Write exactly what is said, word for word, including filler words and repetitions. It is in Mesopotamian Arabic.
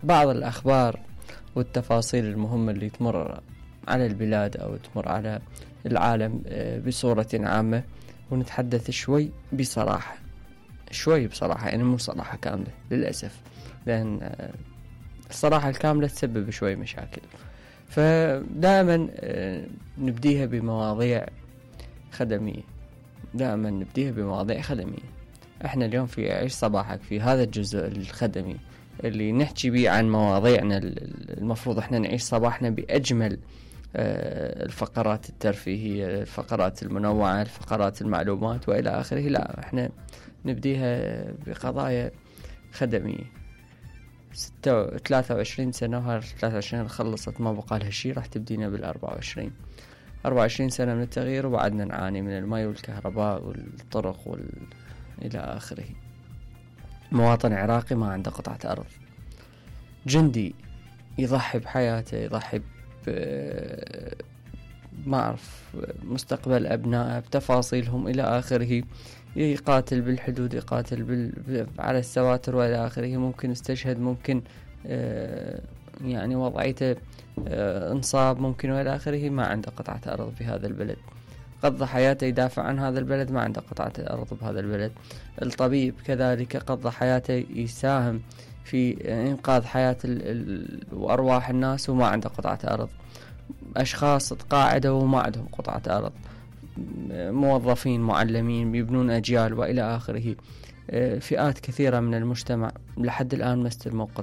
بعض الأخبار والتفاصيل المهمة اللي تمر على البلاد أو تمر على العالم بصورة عامة، ونتحدث شوي بصراحة شوي بصراحة يعني مو صراحة كاملة للأسف، لأن الصراحة الكاملة تسبب شوي مشاكل. فدائما نبديها بمواضيع خدمية، دائما نبديها بمواضيع خدمية. احنا اليوم في عيش صباحك في هذا الجزء الخدمي اللي نحكي بيه عن مواضيعنا، المفروض احنا نعيش صباحنا بأجمل الفقرات الترفيهية، الفقرات المنوعة، الفقرات المعلومات وإلى آخره. لا، احنا نبديها بقضايا خدمية. ستة ثلاثة وعشرين سنة، وهذا ثلاثة وعشرين خلصت ما بقى لها شيء، راح تبدينا بالأربعة وعشرين أربعة وعشرين سنة من التغيير، وبعدنا نعاني من الماء والكهرباء والطرق وال... إلى آخره. مواطن عراقي ما عنده قطعة أرض، جندي يضحي بحياته، يضحي ب... ما أعرف مستقبل أبنائه بتفاصيلهم إلى آخره، يقاتل بالحدود، يقاتل بال... على السواتر وإلى آخره، ممكن استشهد، ممكن آه يعني وضعيته آه انصاب، ممكن وإلى آخره، ما عنده قطعة أرض في هذا البلد. قضى حياته يدافع عن هذا البلد، ما عنده قطعة أرض بهذا البلد. الطبيب كذلك قضى حياته يساهم في إنقاذ حياة ال... ال... وأرواح الناس، وما عنده قطعة أرض. أشخاص تقاعدوا وما عندهم قطعة أرض، موظفين، معلمين، يبنون أجيال وإلى آخره. فئات كثيرة من المجتمع لحد الآن ما استلموا